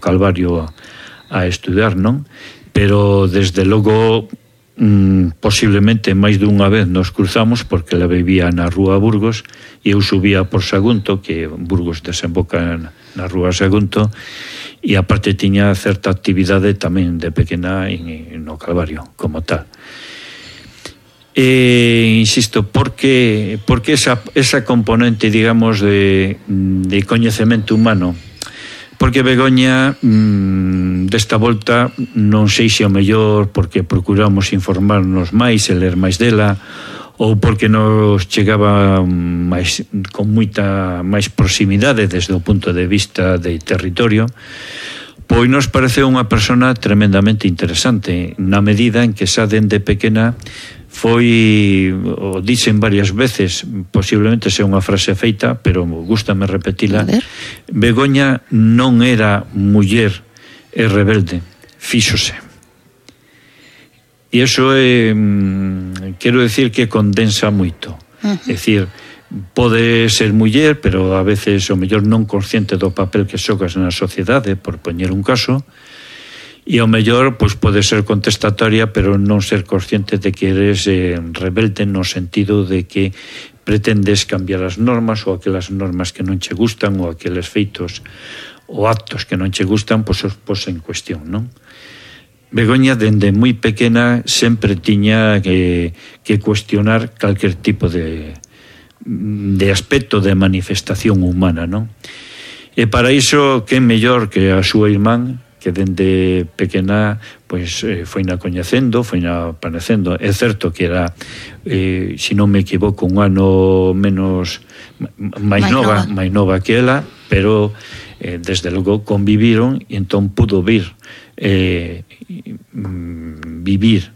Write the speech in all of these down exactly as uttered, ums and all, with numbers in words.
Calvario a, a estudar, non? Pero desde logo mm, posiblemente máis dunha vez nos cruzamos, porque ela vivía na rúa Burgos e eu subía por Sagunto, que Burgos desemboca na rúa Sagunto, e aparte tiña certa actividade tamén de pequena en, no Calvario, como tal. E, insisto, porque, porque esa, esa componente, digamos, de, de coñecemento humano, porque Begoña mmm, desta volta non sei se o mellor porque procuramos informarnos máis e ler máis dela, ou porque nos chegaba máis, con moita máis proximidade desde o punto de vista de territorio, pois nos pareceu unha persona tremendamente interesante, na medida en que xa dende pequena foi, o dixen varias veces, posiblemente sea unha frase feita, pero gústame repetila. Begoña non era muller e rebelde, fíxose. E iso é, quero decir que condensa moito. Uh-huh. É dicir, pode ser muller, pero a veces o mellor non consciente do papel que xogas na sociedade, por poñer un caso, e ao mellor pois pode ser contestatoria, pero non ser consciente de que eres eh, rebelde no sentido de que pretendes cambiar as normas, ou aquelas normas que non che gustan, ou aqueles feitos ou actos que non che gustan, pois os pos en cuestión, non? Begoña, dende moi pequena, sempre tiña que, que cuestionar calquer tipo de, de aspecto de manifestación humana, non? E para iso, que mellor que a súa irmán, que dende pequena pois eh, foi na coñecendo, foi na aparecendo. É certo que era, eh, se non me equivoco, un ano menos máis nova, máis nova que ela, pero eh, desde logo conviviron e entón pudo vir eh, vivir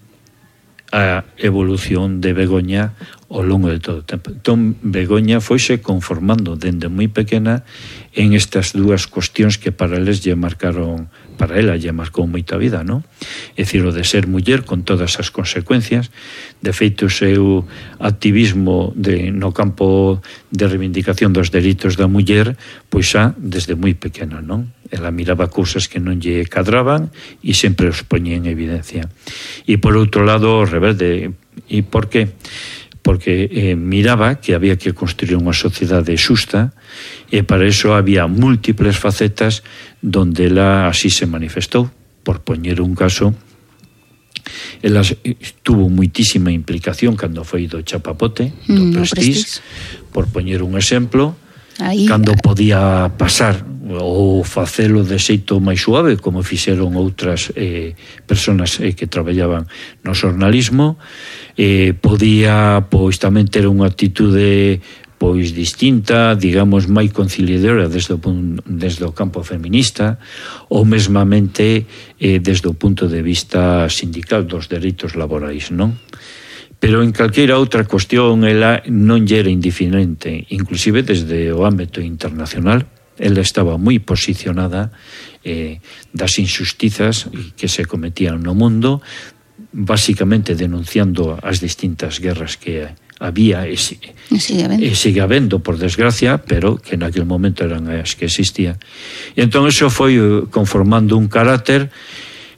a evolución de Begoña ao longo de todo o tempo. Entón, Begoña foise conformando dende moi pequena en estas dúas cuestións que para eles lle marcaron, para ela lle marcou moita vida, non? É dicir, o de ser muller con todas as consecuencias. De feito, o seu activismo de, no campo de reivindicación dos dereitos da muller, pois xa desde moi pequena, non? Ela miraba cousas que non lle cadraban e sempre os poñía en evidencia. E por outro lado, o rebelde. E por qué? Porque eh, miraba que había que construir unha sociedade xusta, e para iso había múltiples facetas donde ela así se manifestou. Por poñer un caso, ela tuvo muitísima implicación cando foi do chapapote, do mm, Prestige, por poñer un exemplo, aí, cando podía pasar ou facelo de xeito máis suave, como fixeron outras eh, personas eh, que traballaban no xornalismo, eh, podía pois tamén ter unha actitude pois distinta, digamos, máis conciliadora desde o, desde o campo feminista, ou mesmamente eh, desde o punto de vista sindical dos dereitos laborais, non? Pero en calqueira outra cuestión ela non lle era indiferente, inclusive desde o ámbito internacional. Ela estaba moi posicionada eh, das injustizas que se cometían no mundo, basicamente denunciando as distintas guerras que había e, si, e sigue habendo, por desgracia, pero que naquele momento eran as que existían. E entón eso foi conformando un carácter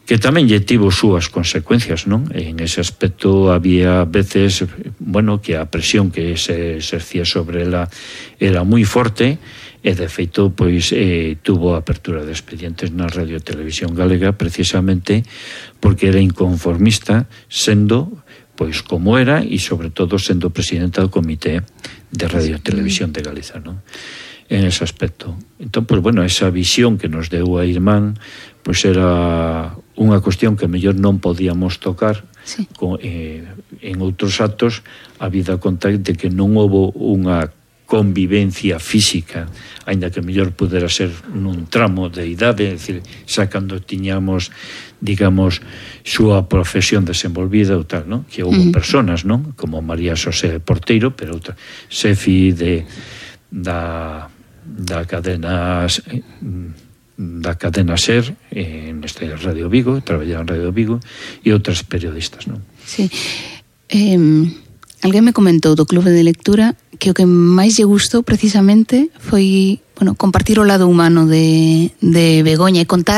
que tamén lle tivo súas consecuencias, non? En ese aspecto había veces, bueno, que a presión que se exercía sobre ela era moi forte, e de feito, pois, eh, tuvo apertura de expedientes na Radio Televisión Galega precisamente porque era inconformista, sendo, pois, como era, e sobre todo sendo presidenta do Comité de Radio Televisión de Galiza, non? En ese aspecto. Entón, pois, bueno, esa visión que nos deu a irmán, pois era unha cuestión que mellor non podíamos tocar, sí. con, eh, en outros actos, a vida conta de que non houbo unha convivencia física, aínda que mellor pudera ser nun tramo de idade, é dicir, xa cando tiñamos, digamos, súa profesión desenvolvida ou tal, non? Que houve uh-huh. personas, non? Como María Xosé Porteiro, pero outra, xefi de da da cadena da cadena SER en este Radio Vigo, traballaba en Radio Vigo, e outras periodistas, non? Sí. Eh, alguén me comentou do Clube de Lectura que o que máis lle gustou precisamente foi, bueno, compartir o lado humano de, de Begoña e contar